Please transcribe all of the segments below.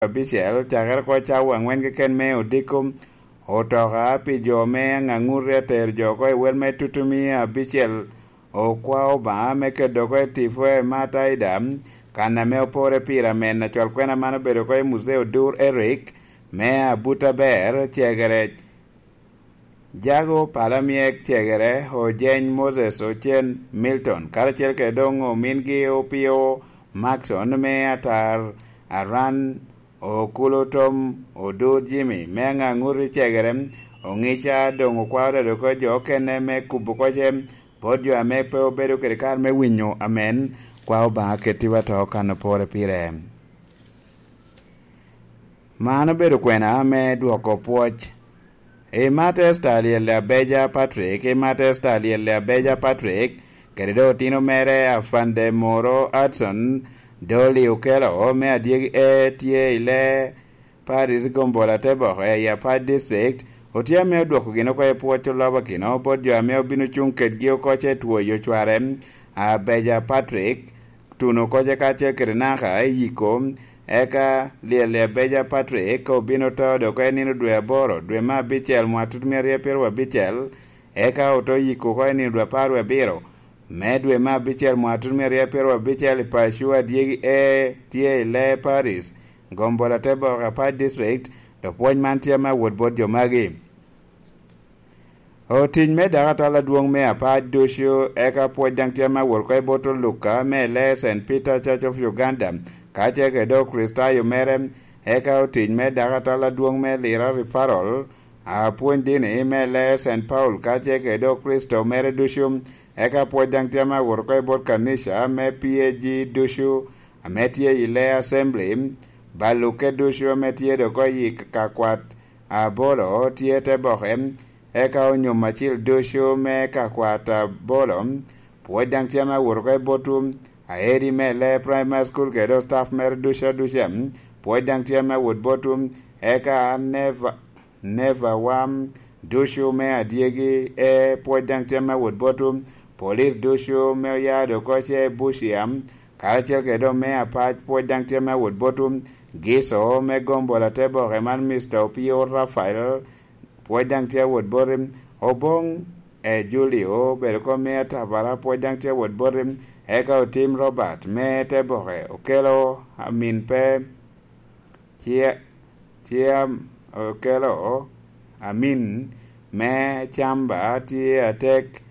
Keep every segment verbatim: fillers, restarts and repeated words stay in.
abicel, cakere oko cawa aŋwen keken me odiko, otoka pi jo me aŋaŋuti atero jo oko i wel me tutumia abicel, okwao Obaŋa me kedo oko i tipo e Mataida, kan ame opore pire amen. Acwal kwena man obedo oko i Muzee Odur Eric, me Abuta Ber, Cegere, Jago Palamyek Cegere, Ojeny Moses Ocen Milton, karacel kede doŋ omingi Opio Maxon me Atar, Aran Okulu Tom, Odur Jimmy me Aŋaŋuti Cegere, Oŋica doŋ okwao dado oko jo okene me kubo koce bot jo ame pe obedo kede kare me winyo amen. Kwa Obaŋa kettiwa to kan opore pire. Man obedo kwena me dwoko pwoc. I Matesta Lyelle Abeja Patrick, i Matesta Lyelle Abeja Patrick, kede doŋ otino mere Afande Moro Hudson, Dolly Okello me Adyegi E tye i le Paris Gombola te boko i Apac District, otye ame odwoko gin oko i pwoc olobakino bot jo ame obino cuŋ kedgi oko ce twoyo cware, Abeja Patrick, tuno koce kacel kede naka i yiko, eka Lyelle Abeja Patrick obino to dok i nino dwe aboro, dwe me abicel, mwaka tutumia aryo pyeraryo abicel, eka oto yiko oko i nino dwe apar wie abiro me dwe me abicel, mwaka tutumia aryo pyeraryo abicel, i paco Adyegi E tye i le Paris, Gombola te boko Apac District, dok pwoc man tye ame awot bot jo magi. Otic me dakatal adwoŋ me Apac ducu, eka pwoc daŋ tye ame awot oko i bot Oluka me le Saint Peter Church of Uganda, kacel kede Okricitayo mere, eka otic me dakatal adwoŋ me Lira Referral, apwony dini me le Saint Paul, kacel kede Okricito mere ducu, eka pwoc daŋ tye ame awot oko i bot kanica me P A G ducu, ame tye i le Assembly, baluke ducu ame tye dok oko i ka kwat abolo tye te boke, eka onyom acil ducu me ka kwat abolo, pwoc daŋ tye ame awot oko i botwu, aedi me le Primary School kede staff mere ducu aduca, pwoc daŋ tye ame awot botwu, eka Neva, Neva wam ducu me Adyegi E pwoc daŋ tye ame awot botwu, police ducu me oya dok oko ce Bucia, karacel kede doŋ me Apac pwoc daŋ tye ame awot botwu, Gico me Gombola te boke man Mister Opio Rafael, pwoc daŋ tye awot boti, Oboŋ e Julio obedo oko me Atabara, pwoc daŋ tye awot boti, eka Otim Robert me te boke, Okelo Amin pe, Cia-, Cia-, Okelo Amin me Camba tye atek,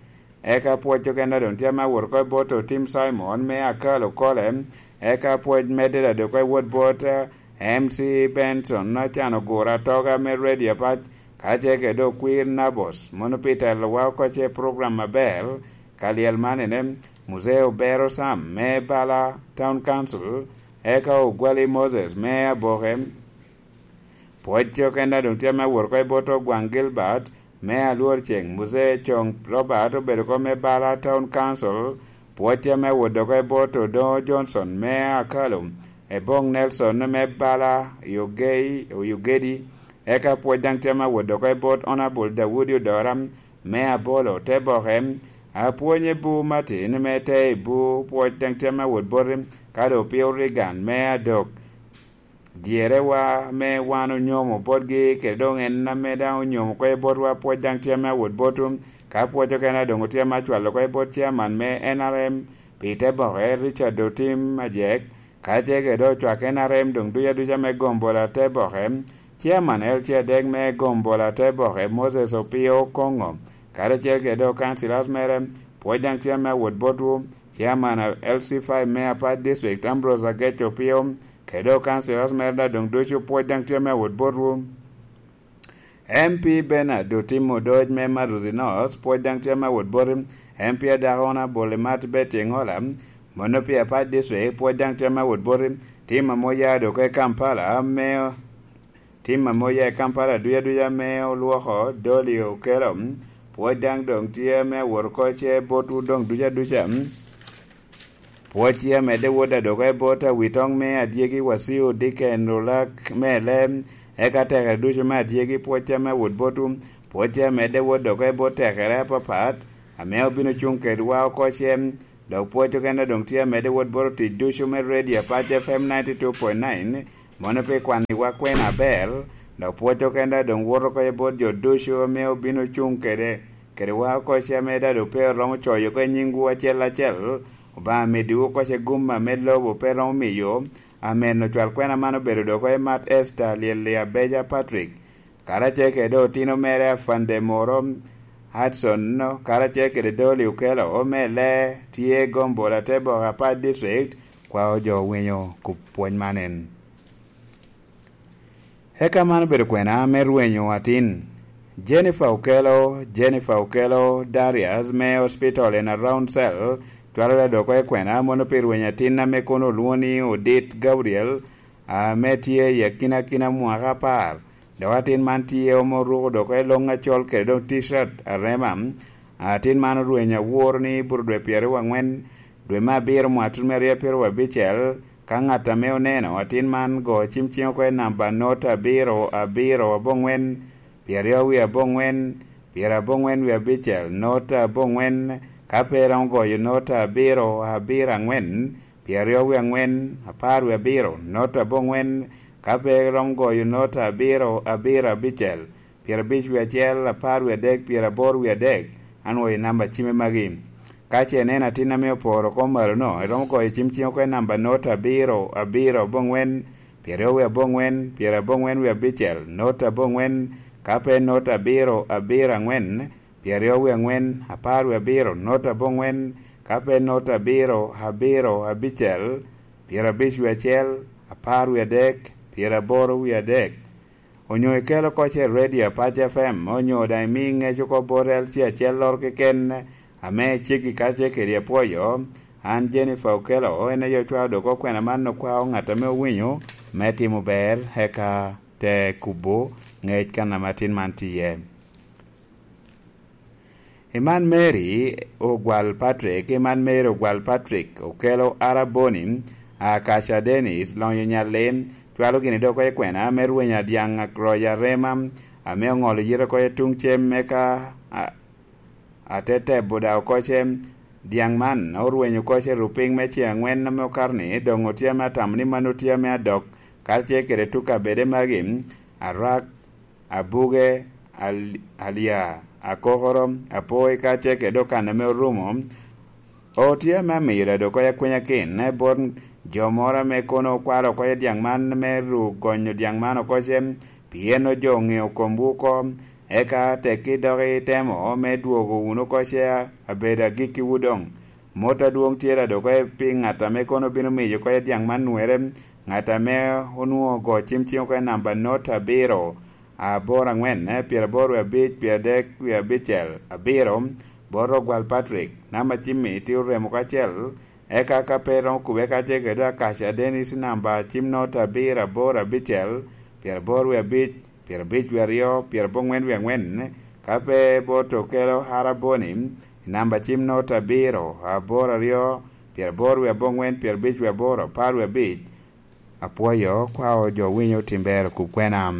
eka pwoc okene doŋ tye ame awot oko i bot Otim Simon me Akalo Kole, eka pwoc medde daŋ dok oko i wot bot, eh, M C Benson Acan Ogura Atoga me Radio Apac, kacel kede Okwir Nabos, mono pi telowa oko ce program aber ka lyel man ene, Muzee Obero Sam me Bala Town Council, eka Ogwali Moses me Aboke. Pwoc okene doŋ tye ame awot oko i bot Ogwaŋ Gilbert me Alwor Ceŋ, Muzee Coŋ Robert obedo oko me Bala Town Council, pwoc tye ame awot oko i bot Odoŋo Johnson me Akalo, Eboŋ Nelson me Bala Yogei, Oyogedi, eka pwoc daŋ tye ame awot oko i bot Honourable Daudi Odora me Abolo te boke, apwony Ebu Martin me te Ebu, pwoc daŋ tye ame awot boti, ka doŋ Opio Reagan me Adok. Dyerewa ame wan onyomo botgi, kede doŋ en ame daŋ onyomo oko i botwa, pwoc daŋ tye ame awot botwu, ka pwoc okene doŋ otye ame acwalo oko i bot chairman me N R M pi te boke, Richard Otim Ajek, kacel kede ocwak N R M doŋ duc aduca me Gombola te boke, chairman L C adek me Gombola te boke, Moses Opio Okoŋo, karacel kede councillors mere, pwoc daŋ tye ame awot botwu, chairman L C five me Apac District, Ambrose Agec Opio, kede councillors mere daŋ doŋ ducu, pwoc daŋ tye ame awot botwu. M P Bernard Otim Odoc me Maruzi North, pwoc daŋ tye ame awot boti. M P adako Honourable Imat Betty Engola, mono pi Apac District, pwoc daŋ tye ame awot boti. Tim ame oya dok i Kampala, me, tim ame oya i Kampala duc aduca me olwoko Dolly Okello, pwoc daŋ doŋ tye ame awot oko ce botwu doŋ duc aduca. Pwoc tye amedde wot adok i bot awitoŋ me adyegi Waciu Diken Olak me Lem, eka tekere ducu me adyegi pwoc tye ame awot botwu. Pwoc tye amedde wot dok i bot tekere apapat, ame obino cuŋ kedwa oko cem, dok pwoc okene doŋ tye amedde wot bot otic ducu me Radio Apac F M ninety two point nine, Mono pi kwanniwa kwena aber, dok pwocco kenda doŋ woto oko i bot jo ducu ame obino cuŋ kede, kede wa oko ce ame dado pe oromo coyo oko i nyiŋwu acel acel. Obaŋa meddiwu oko ce gum ame lobo pe romo miyo. Amen. Ocwal kwena man obedo dok oko i Mat Esta Lielia Beja Patrick, karacel kede otino mere Afande Moro Hudson, karacel kede Dolly Okello, omelle tye Gombola Teboka Pat District, kwao jo winyo kup pwony man en. Eka man obedo kwena me rwenyo atin. Jennifer Okello, Jennifer Okello Darius me hospital en around cell, twalo dok oko i kwena mono pi rwenyo atin ame kono olwoŋo ni Odit Gabriel, ame tye i akinakina mwaka apar. Dok atin man tye omo ruko dok oko i loŋ acol kede doŋ t-shirt arema. Atin man orwenyo awor ni buro dwe pyeraryo angwen, dwe me abiro mwaka tutumia aryo pyeraryo abicel, ka ŋat ame oneno atin man go cim ciŋ oko i namba not abiro abiro abongwen, pyeraryo wie abongwen, pyerabongwen wie abicel, not abongwen, ka pe romo goyo not abiro abiro angwen, pyeraryo wie angwen, apar wie abiro, not abongwen, ka pe romo goyo not abiro abiro abicel, pyerabic wie acel, apar wie adek, pyeraboro wie adek, anwoyo i namba cimme magi. Ka ce ineno atin ame oporo kom malo-no, iromo goyo cim ciŋ oko i namba not abiro abiro abongwen, pyeraryo wie abongwen, pyerabongwen wie abicel, not abongwen, ka pe not abiro abiro angwen, pyeraryo wie angwen, apar wie abiro, not abongwen, ka pe not abiro abiro abicel, pyerabic wie acel, apar wie adek, pyeraboro wie adek. Onyo ikelo oko ce i redio Apac F M, onyo daŋ imi ŋec oko bot L C acel loro keken ame iceggi karacel kede apwoyo. An Jennifer Okello, en aye ocwao dok okwena man okwao ŋat ame owinyo me timo ber, eka te kubo ŋec kan ame atin man tye iye. Iman Mary Ogwal Patrick, Iman Mary Ogwal Patrick, Okello Araboni, Akaca Dennis, Lonyo Nyallim, cwalo gini dok oko i kwena me rweny adyaŋ royo arema, ame oŋolo yite oko i tuŋ cem me ka, a, ate tebo da oko ce dyaŋ man orwenyo oko ce rupiny me ce angwen ame okato ni, doŋ otye ame atamo ni mano tye ame adok, karacel kede tuk kabede magi, arak, abuge, al-, alya, akokoro, apoi, kacel kede okanne ame orumo. O, tye ame amiyo dado oko i akwenya kin, bot jo moro ame kono okwalo oko i dyaŋ man me ru gonyo dyaŋ man oko ce, pien ojo oŋeo komwu oko, eka tekki dok itemo me dwogo wunu oko ce abedo agikkiwu doŋ. Mot adwoŋ tye dado oko i pi ŋat ame kono bino miyo oko i dyaŋ man nwere, ŋat ame onwoŋo ogo cim ciŋ oko i namba not abiro, aboro angwen, pyeraboro wie abic, pyeradek wie abicel, abiro, bot Ogwal Patrick, namba cimmi tye oremo kacel, eka ka pe iromo kubbe kacel kede Akaca Dennis namba cim not abiro aboro abicel, pyeraboro wie abic, pyerabic wie aryo, pyerabongwen wie angwen, ka pe bot Okello Araboni, i namba cim not abiro, aboro aryo, pyeraboro wie abongwen, pyerabic wie aboro, apar wie abic, apwoyo, kwao jo winyo tim ber okub kwena.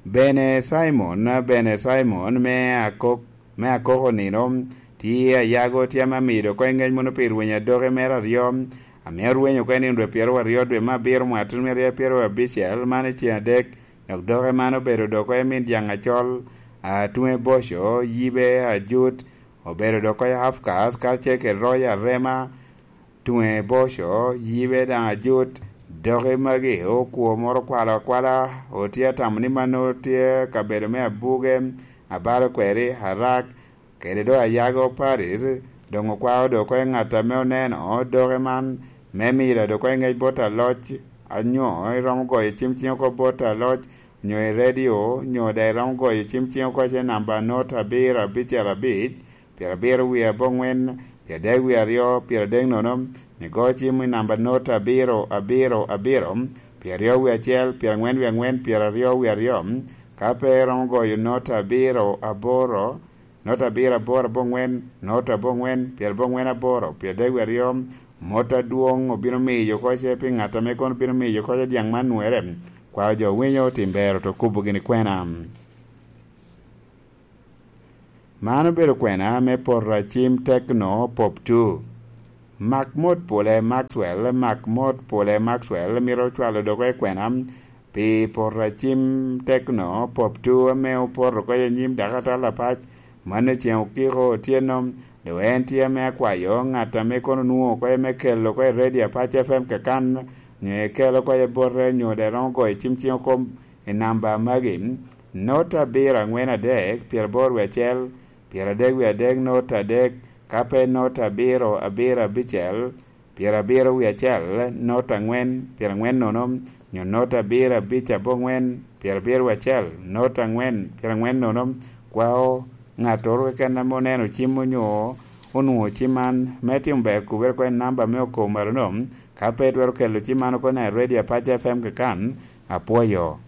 Bene Simon, Bene Simon me Akok, me Akoko nino, tye ayago tye ame amido oko i ŋec mono pi rweny adoki mere aryo, ame orwenyo oko i nino dwe pyeraryo aryo dwe me abiro mwaka tutumia aryo pyeraryo abicel, man i ceng adek, dok doke man obedo dok oko i min dyaŋ acol, a, tuŋe boco, yibe, ajut, obedo dok oko i Afkas, karacel kede royo arema, tuŋe boco, yibe daŋ ajut, doki magi okwo moro okwalo akwala, otye atamo ni mano tye kabedo me abuge, abalo kweri, arak, kede doŋ ayago Paris, doŋ okwao doŋ oko i ŋat ame oneno doki man, me miro doŋ oko i ŋec bot aloc, anyo iromo goyo cim ciŋ oko bot aloc, onyo i redio, onyo daŋ iromo goyo cim ciŋ oko ce namba not abiro abicel abic, pyerabiro wie aboŋwen, pyeradek wie aryo, pyeradek nono, igo cim i namba not abiro abiro abiro, pyeraryo wie acel, pyerangwen wie angwen, pyeraryo wie aryo, ka pe iromo goyo not abiro aboro, not abiro aboro aboŋwen, not aboŋwen, pyerabongwen aboro, pyeradek wie aryo, mot adwoŋ obino miyo oko ce pi ŋat ame kono bino miyo oko ce dyaŋ man nwere, kwao jo winyo tim ber oto kubo gini kwena. Man obedo kwena me poto acim Tecno Pop two. Mak mot pole Maxwell, mak mot pole Maxwell mito cwalo doko i kwena pi poto acim tekno pop tu ame opoto oko i nyim dakatal apac. Mano ceŋ okiko otyeno, dok en tye ame akwayo ŋat ame kono nwoŋo oko me kelo oko i redio apac F M kakan, nyo ekelo oko i bote, nyo dok romo goyo cim ciŋ oko i namba magi: nota abiro aŋwen adek, pyeraboro wie acel, pyeradek wie adek, nota adek, ka pe nota abiro abiro abicel, pyerabiro wie acel, nota aŋwen, pyeraŋwen nono, nyo nota abiro abic aboŋwen, pyerabiro wie acel, nota aŋwen, pyeraŋwen nono. Kwao ŋattoro keken ame oneno cim onyo onwoŋo cim man, me timo ber kubere oko i namba me okobo malo-no, ka pe twero kelo cim man oko i redio apac F M kakan, apwoyo.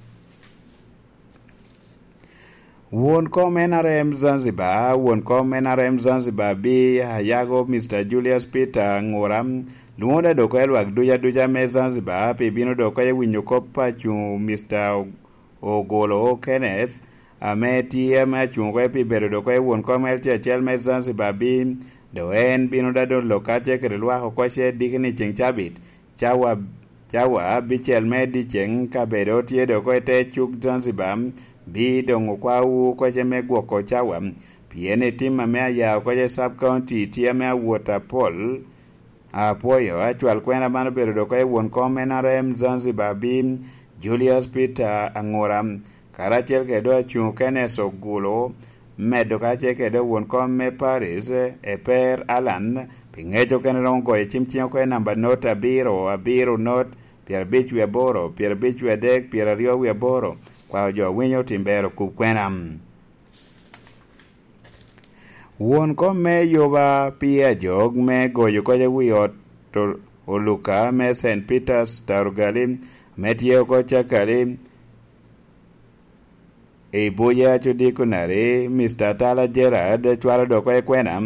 Won kom N R M Zanzibar, won kom N R M Zanzibar bi ayago Mister Julius Peter Ngura, lwoŋo da doko i lwak duca duca me Zanzibar pi bino doko i winyo kop a cuŋ Mister Ogolo Kenneth, ame tye ame acuŋ oko pi bedo doko i won kom L T acel me Zanzibar bi, do en bino da dolo kacce kede lwak oko ce diki ni ceŋ cabit, cawa cawa abicel me dyeceŋ kabedo tye dok oko i te cuk Zanzibar, bi doŋ okwawu oko ce me gwoko cawa, pien i tim ame aya oko ce sub county tye ame awot apol. Apwoyo acwal kwena man obedo dok oko i won kom N R M Zanzibar bi, Julius Peter Angura, karacel kede doŋ acuŋ Kenneth Ogulu, medo kacel kede won kom me Paris, Eper Alan, pi ŋec okene romo goyo cim ciŋ oko i namba not abiro, abiro not, pyerabic wie aboro, pyerabic wie adek, pyeraryo wie aboro, kwao jo winyo tim ber okub kwena. Won kom me Yoba pi ajok me goyo kocca wi ot Oluka me Saint Peter's Tarugali, me tye oko Cakali, i buc a Codikonari, Mister Atala Gerard cwalo dok oko i kwena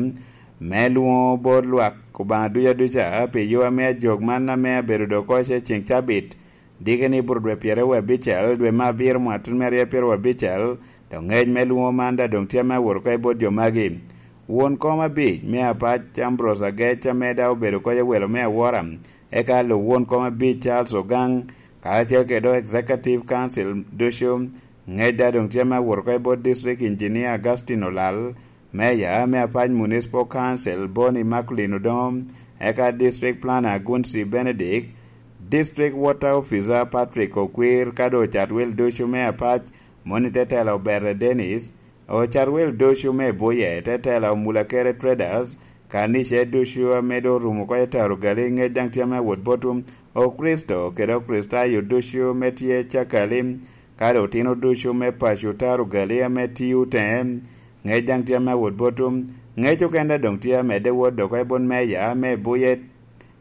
me lwoŋo bot lwak Obaŋa duca duca pi yo ame ajok man ame abedo dok oko ce ceŋ cabit, diki ni buro dwe pyeraryo abicel dwe me abiro mwaka tutumia aryo pyeraryo abicel, dok ŋec me lwoŋo man daŋ doŋ tye ame awot oko i bot jo magi. Won kom abic me apac Ambrose Agec ame daŋ obedo oko i welo me awora, eka lub won kom abic Charles Ogang, karacel kede dok Executive Council ducu, ŋec daŋ doŋ tye ame awot oko i bot District Engineer Augustine Olal, Meya me apac Municipal Council Boni Immaculate Odongo, eka District Planner Agunsi Benedict, District Water Officer Patrick Okwir, ka doŋ ocat wel ducu me apac, moni te tela Obere Dennis, ocat wel ducu me Buye, te tela Omulakere Traders, kanice ducu ame doŋ orumo oko i Tarugali, ŋec daŋ tye ame awot botwu, Okricito kede Okricitayo ducu ame tye Cakali, kadi otino ducu me paco Tarugali ame tio teŋe, ŋec daŋ tye ame awot botwu. Ŋec okene doŋ tye amedde wot dok i bot meya me Buye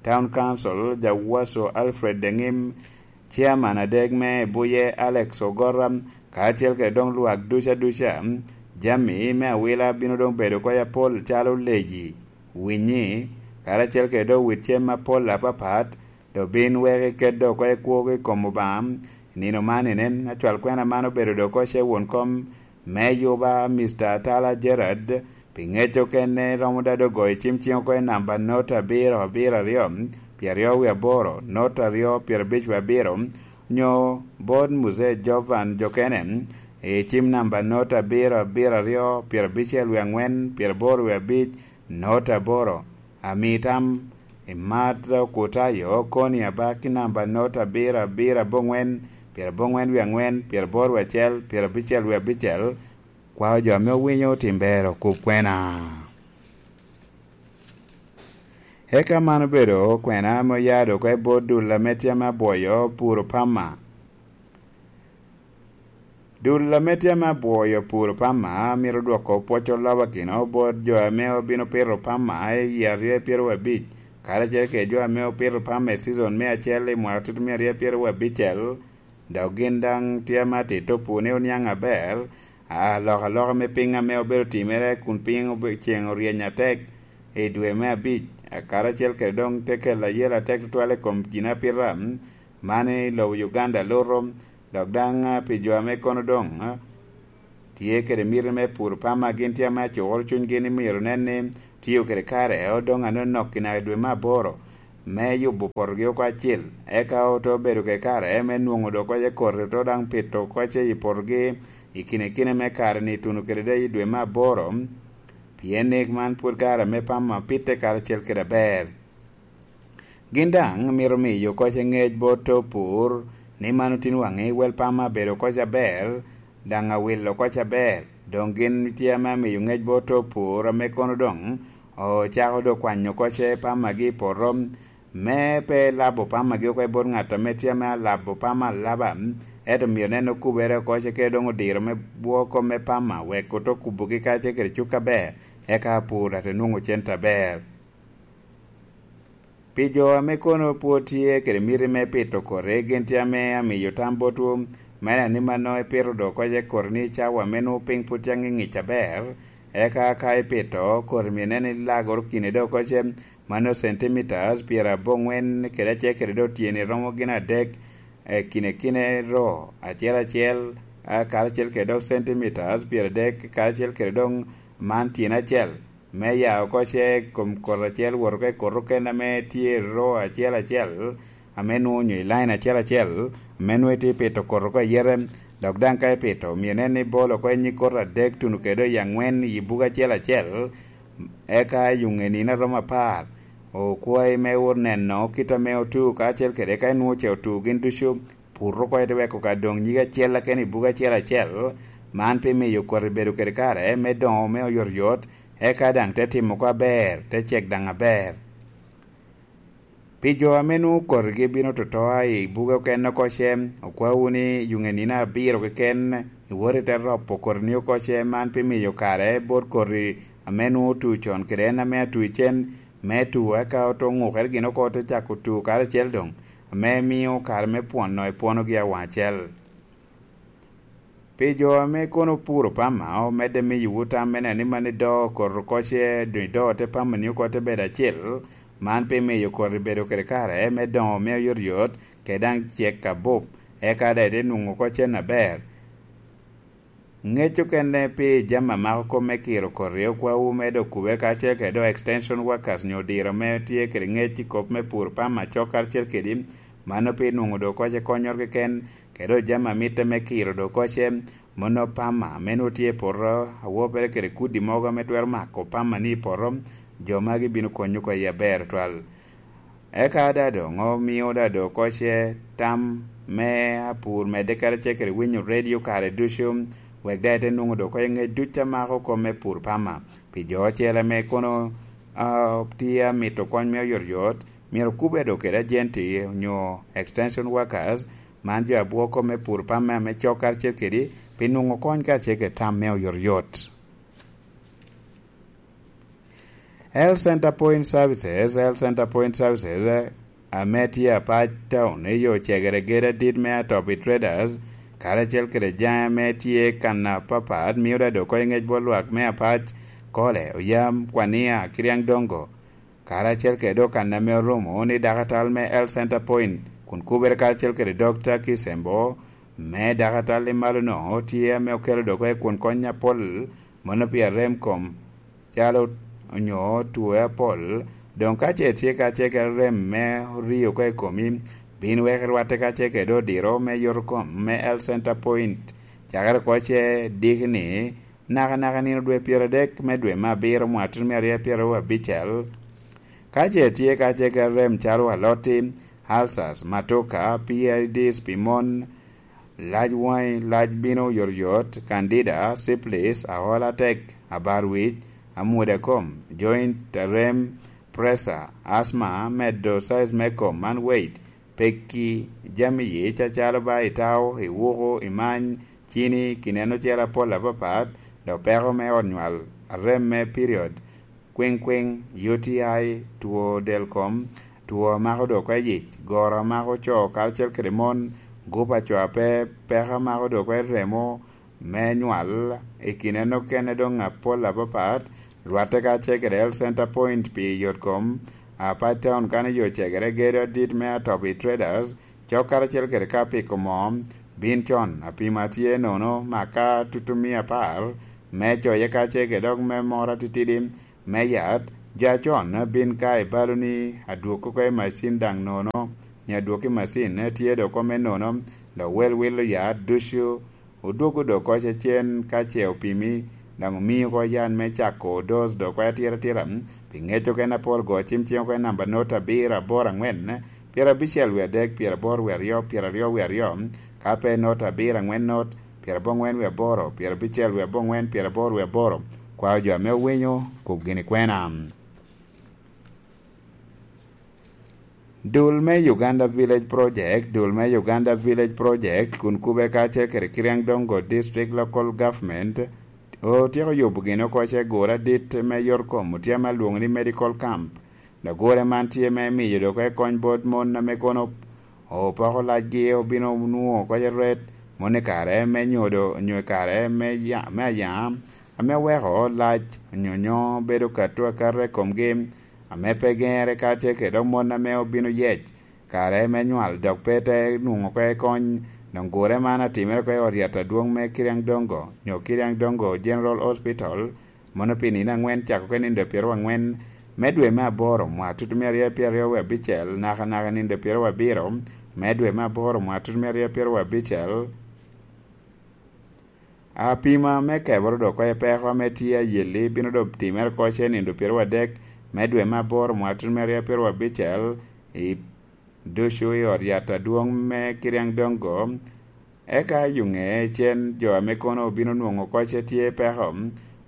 Town Council, Jawaso Alfred Deŋim, Chairman adek me Buye Alex Ogora, karacel kede doŋ lwak duca duca. Jami me awila bino doŋ bedo oko apol calo leji, winyi, karacel kede doŋ wit cem apol apapat, dok bin wek iket dok oko i kwogo i kom Obaŋa. I nino man ine, acwal kwena man obedo dok oko ce won kom me Yuba, Mister Atala Gerard, pi ŋec okene romo dado goyo cim ciŋ oko i namba not abiro abiro aryo, pyeraryo wie aboro, not aryo, pyerabic wie abiro, nyo bot Muzee Jovan Jokene, i cim namba not abiro abiro aryo, pyerabicel wie aŋwen, pyeraboro wie abic, not aboro. Ami tam, imat Okutayo, koni abaki namba not abiro abiro aboŋwen, pyeraboŋwen wie aŋwen, pyeraboro wie acel, pyerabicel wie abicel, kwao jo ame owinyo otim ber okub kwena. Eka man obedo kwena ame oya dok oko i bot dul ame tye ame abwoyo puro pama. Dul ame tye ame abwoyo puro pama mito dwoko pwoc olobakino bot jo ame obino pito pama i yie aryo pyeraryo abic, karacel kede jo ame opito pama i cizon me acel i mwaka tutumia aryo pyeraryo abicel, dok gin daŋ tye ame atito pur ni oniaŋ aber, alokaloka me piny ame obedo timere kun piny obe-, ceŋ oryeny atek i dwe me abic, karacel kede doŋ te kelo ayela atek tutwal i kom ginapita man i lobo Uganda luto, dok daŋ, ah, pi jo ame kono doŋ, ah, tye kede miti me pur pama, gin tye ame acukoro cunygi ni myero nen ni tio kede kare odoŋ anonok i naka dwe me aboro me yubo potogi oko acil, eka ote bedo kede kare me nwoŋo dok kocce koti, ote daŋ pito kocce i potogi i kine kine me kare-ni tuno kede daŋ i dwe me aboro, pien ni man pwod kare ame pama pitte karacel kede aber. Gin daŋ myero miyo kocce ŋec bot opur ni man otin waŋi wel pama abedo kocce aber, daŋ awilo kocce aber. Doŋ gin tye ame amiyo ŋec bot opur ame kono doŋ ocako do kwanyo kocce pamagi i poto, me pe labo pamagi oko i bot ŋat ame tye ame alabo pama alaba, ento myero nen okubere oko ce kede doŋ odiro me bwoko me pama wek oto kubogi kacel kede cuk aber, eka apur ate nwoŋo cente aber. Pi jo ame kono pwod tye kede miti me pito koti, gin tye ame amiyo tam botwu, me ni mano ipito do kocce koti ni cawa ame nwoŋo piny pwod tye aŋiŋic aber, eka ka ipito koti myero nen ilagoro kine do kocce, mano centimeters pyeraboŋwen kede acel kede do tyeni romo gin adek, e kine kine ro acel acel, a, karacel kede dok centimeters pyeradek, karacel kede doŋ man tyen acel, me ya oko ce i kom kot acel wot oko i kot okene ame tye i ro acel acel, ame nwoŋo onyo i lain acel acel, ame nwoŋo itye pito kot oko ayete, dok daŋ ka ipito, myero inen ni ibolo oko i nyig kot adek tuno kede i aŋwen i bugo acel acel, eka i yuŋe nino a romo apar, okwayi me wot neno kit ame otu, kacel kede ka inwoŋo ce otu gin ducu, pur oko ite weko ka doŋ nyig acel keken i bugo acel acel, man pi miyo koti bedo kede kare me doŋo me oyotoyot, eka daŋ te timo oko aber, te cek daŋ aber. Pi jo ame nwoŋo kotigi bino totoa i buge okene oko ce, okwawu ni yuŋe nino abiro keken iwot ite ropo kotini oko ce, man pi miyo kare bot koti ame nwoŋo otu con kede en ame atu icen, me tu, eka oto ŋukere gin oko te cako tu karacel doŋ, ame mio kare me pwono ipwonogi awaŋ acel. Pi jo ame kono opuro pama, omedde miyowu tam me neno ni man idoo koti oko ce, doŋ idoo te pama ni oko te bedo acil, man pi miyo koti bedo kede kare me doŋo me oyotoyot, kede daŋ cek abup, eka daŋ ite nwoŋo oko cen aber. Ŋec okene pi jami a mako kop me kiro koti okwawu me dok kube kacel kede dok extension workers nyo odiro ame tye kede ŋec i kop me pur pama cok karacel kedi, mano pi nwoŋo dok kocce konyoro keken, kede dok jami a mitte me kiro dok kocce, mono pama ame nwoŋo tye i poto, awopere kede kudi mogo ame twero mako pama ni i poto, jo magi bino konyo oko i aber twal. Eka daŋ doŋ omio daŋ dok oko ce tam me apur medde karacel kede winyo redio kare ducu, wek daŋ ite nwoŋo dok oko i ŋec duc a mako kop me pur pama. Pi jo ocele ame kono, ah, tye amito kony me oyotoyot, myero okubbe dok kede ajenti onyo extension workers, man jo a bwoko kop me pur pama ame cok karacel kedi, pi nwoŋo kony karacel kede tam me oyotoyot. Health Center Point Services, Health Center Point Services, eh, ame tye Apac Town, i yo cegere gedo adit me Atobi Traders, karacel kede jaŋe ame tye kan apapat, mio daŋ dok oko i ŋec bot lwak me Apac, Kole, Oyam, Kwania, Kiriaŋ Dongo, karacel kede dok kan ame orumo ni dakatal me Health Center Point, kun kubere karacel kede Dokta Kisembo, me dakatal i malo-no, tye ame okelo dok oko i kun kony apol, mono pi arem kom, calo onyo two apol, doŋ ka ce tye ka ce kede rem me orio oko i komi, bin wek irwatte ka ce kede odiro me yotokom me Health Center Point, cakere oko ce diki ni, nakanaka nino dwe pyeradek me dwe me abiro mwatino me aryo pyeraryo abicel. Ka ce tye ka ce kede rem calo alotti, ulcers, matoka, P I Ds pi mon, lac waŋi, lac bino oyotoyot, candida, syphilis, aol atek, abar wic, amwoda kom, joint, arem, pressure, asthma, medo size me kom, man weight, pekki, jami yic acalo ba itao, iwuko, imany, cini, kineno cel apol apapat, dok peko me ot nywal, arem me period, kwiŋkwiŋ, U T I, two del kom, two a mako dok oko i yic, goro a mako co karacel kede mon, gup a co a pe peko a mako dok oko i remo me nywal, i kine nokene doŋ apol apapat, rwatte kacel kede Health Center Point pi yot kom, Apac Town kan i yo cegere gedo adit me Atobi Traders, cok karacel kede ka piko moo, bin con, apima tye nono, maka tutumia apar, me coye kacel kede dok me moro atitidi, me yat, Jo acon bin ka i balo ni adwog oko i macin daŋ nono, nyo adwog i macin tye dok oko me nono, dok wel wilo ya ducu, odwogo dok oko cecen ka ce opimi, daŋ omi oko yan me cako dos dok oko atira atira, pi ŋec oko en apol go cim cing oko en namba not abiro aboro angwen, pyerabicel wie adek, pyeraboro wie aryo, pyeraryo wie aryo, ka pe not abiro angwen not, pyerabongwen wie aboro, pyerabicel wie abongwen, pyeraboro wie aboro. Kwao jo ame owinyo, kub gini kwena. Dul me Uganda Village Project, dul me Uganda Village Project, kun kube kacel kede Kiriang Dongo District Local Government, otyeko yubo gin oko ce gure adit me yot kom, otye ame alwoŋo ni medical camp. Dok gure man tye me miyo dok oko kony bot mon ame kono opoko lacgi, obino nwoŋo oko ce ret, mon i kare me nyodo, nyo i kare me ya-, me ayaŋa, ame weko lac, nyonyo bedo kato akata i komgi, ame pe geŋere kacel kede dok mon ame obino yec kare me nywal, dok pe te nwoŋo oko kony. Doŋ gure man atimere oko i ot yat adwoŋ me Kiriang Dongo, nyo Kiriang Dongo General Hospital, mano pi nino angwen cako oko i nino pyeraryo angwen me dwe me aboro, mwaka tutumia aryo pyeraryo wie abicel, naka naka nino pyeraryo abiro me dwe me aboro, mwaka tutumia aryo pyeraryo abicel. Apima me keboro dok oko i peko ame tye ayelli bino dok timere oko ce nino pyeraryo adek me dwe me aboro, mwaka tutumia aryo pyeraryo abicel, i ducu i ot yat adwoŋ me Kiriang Dongo, eka yuŋe cen jo ame kono obino nwoŋo oko ce tye peko,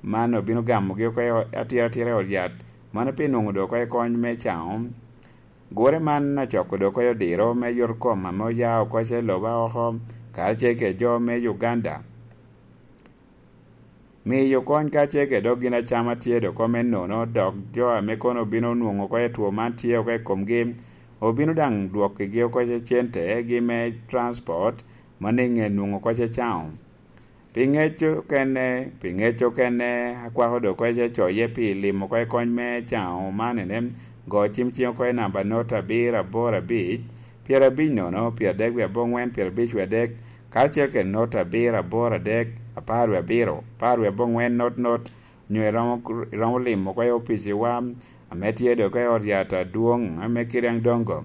man obino gamogi oko i o-, atira atira i ot yat, mano pi nwoŋo dok oko i kony me caŋo. Gure man acoko dok oko i odiro me yot kom ame oya oko ce loba oko, karacel kede jo me Uganda. Miyo kony kacel kede dok gin acama tye dok oko me nono, dok jo ame kono obino nwoŋo oko i two man tye oko i komgi, obino daŋ dwokkigi oko ce cente gi me transport, ma niŋe nwoŋo oko ce caŋo. Pi ŋec okene, pi ŋec okene, akwako dok oko ce coye pi limo oko i kony me caŋo man ene, go cim cing oko i namba not abiro aboro abic, pyerabic nono, pyeradek wie aboŋwen, pyerabic wie adek, karacel kede not abiro aboro adek, apar wie abiro, apar wie aboŋwen not not, nyo iromo, iromo limo oko i opiciwa ame tye dok oko i ot yat adwoŋ ame Kiriang Dongo.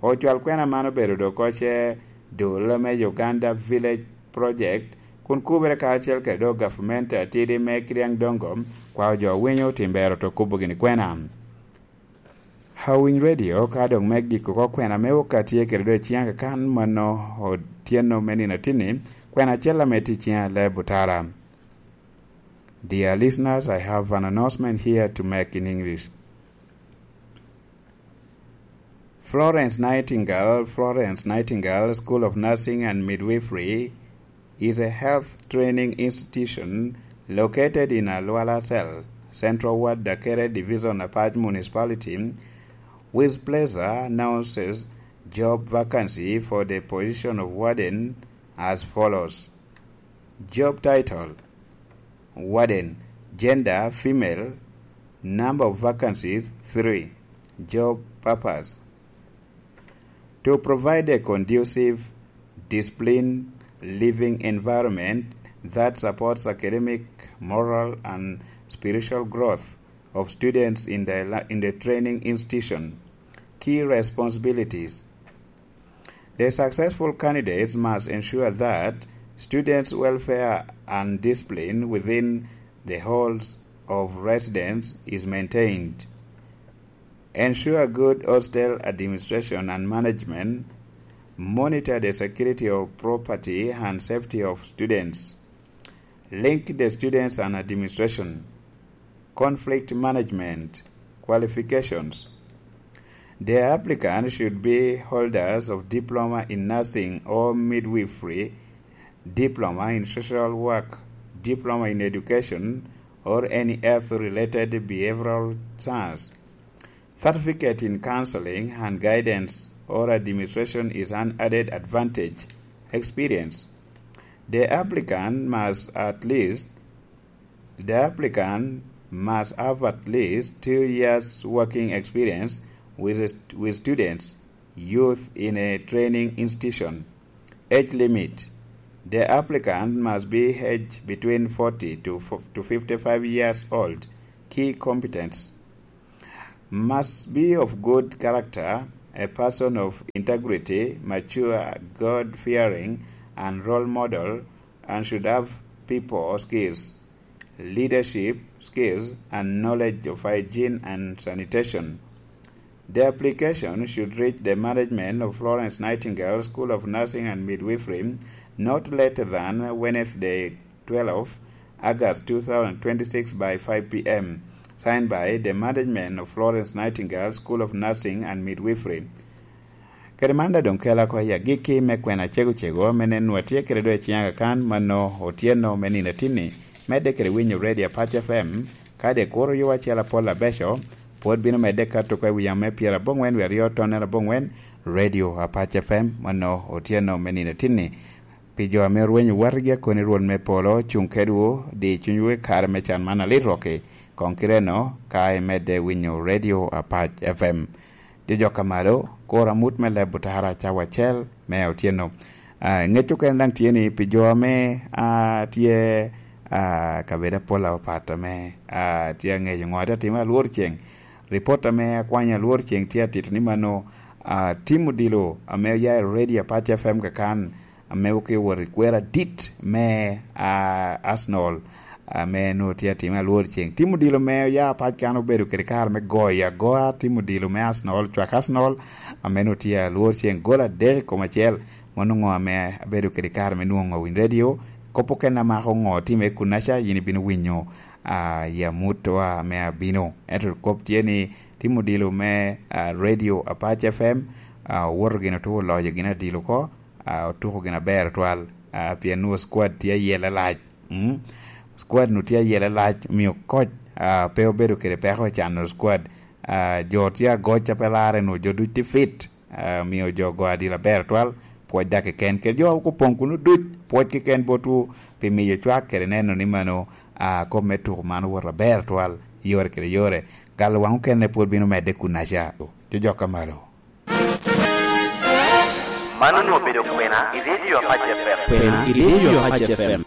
Ocwal kwena man obedo dok oko ce dul me Uganda Village Project, kun kubere karacel kede dok gavumenti atidi me Kiriang Dongo, kwao jo winyo tim bero to kubo gini kwena. Awiny Radio ka dok me giko oko kwena me oka tye kede dwe ciŋ akakan mano otyeno me nino atinni, kwena acel ame tye ciŋ ale butara. Dear listeners, I have an announcement here to make in English. Florence Nightingale, Florence Nightingale School of Nursing and Midwifery is a health training institution located in Alwala Cell, Central Ward, Dakere Division, Apac Municipality, with pleasure announces job vacancy for the position of warden as follows. Job title: Warden. Gender, female. Number of vacancies, three. Job purpose: to provide a conducive, disciplined living environment that supports academic, moral, and spiritual growth of students in the, in the training institution. Key responsibilities: the successful candidates must ensure that students' welfare and discipline within the halls of residence is maintained. Ensure good hostel administration and management. Monitor the security of property and safety of students. Link the students and administration. Conflict management. Qualifications: the applicant should be holders of diploma in nursing or midwifery, diploma in social work, diploma in education, or any health-related behavioral science. Certificate in counseling and guidance or administration is an added advantage. Experience: the applicant must at least, the applicant must have at least two years working experience with, with students, youth in a training institution. Age limit: the applicant must be aged between forty to, to fifty-five years old. Key competence: Must be of good character, a person of integrity, mature, God-fearing, and role model, and should have people skills, leadership skills, and knowledge of hygiene and sanitation. The application should reach the management of Florence Nightingale School of Nursing and Midwifery not later than Wednesday, twelve August two thousand twenty-six by five p m. Signed by the management of Florence Nightingale School of Nursing and Midwifery. Kede man daŋ doŋ kela oko i agikki me kwena cego cego, ame nen nwoŋo atye kede doŋ i ciŋa kakan, mano otyeno me nino atinni. Medde kede winyo Radio Apac F M, kadi kuro yo acel apol abeco, pwod bino medde kato oko i wi yamo me pyerabongwen wie aryo tonnere abongwen, Radio Apac F M, mano otyeno me nino atinni. Pi jo ame orwenyo watgi akoni, Rwot me polo cuŋ kedwu, di cunywu i kare me can man alit rokki, koŋ kite-nu ka imedde winyo Radio Apac F M. Jojok a malo, kor amut me leb otara cawa acel me otyeno. Ah, ŋec okene daŋ tye ni pi jo ame, ah, tye, ah, kabedo apola opato ame, ah, tye aŋeco ŋo atye atimo alwor ceŋ. Ripot ame akwanyo alwor ceŋ tye atito ni mano, ah, tim odilo ame oya i Radio Apac F M kakan, ame oke wot i kwero adit me, ah, Arsenal, ame nwoŋo tye atime alwor ceŋ. Tim odilo me oya pac kan obedo kede kare me goyo agoya, tim odilo me Arsenal, cwak Arsenal, ame nwoŋo tye alwor ceŋ gol adek i kom acel. Mano ŋo ame abedo kede kare me nwoŋo Win Radio? Kop okene amako ŋo time kunnaca, yin ibino winyo, ah, i amutwa ame abino. Ento kop tye ni tim odilo me, ah, Radio Apac F M, ah, owoto gin otuko oloyo gin adilo oko, ah, otuko gin aber twal, ah, pien nwoŋo squad tye ayela lac. Mm. Squad nu tye ayela lac, omio coach, ah, pe obedo kede peko i cano squad. Ah, jo tye agoc a pe larre nu jo duc tye fit, ah, omio jo go adil aber twal, pwoc dak keken. Kede jo a opoŋ kuno duc, pwoc keken botwu pi miyo cwak kede neno ni mano, ah, kop me tuko man owoto aber twal, yore kede yore. Galo waŋ okene pwod bino medde kunnaca. Jojok a malo. Man onwoŋo obedo kwena i Radio Apac F M. Kwena i Radio Apac F M.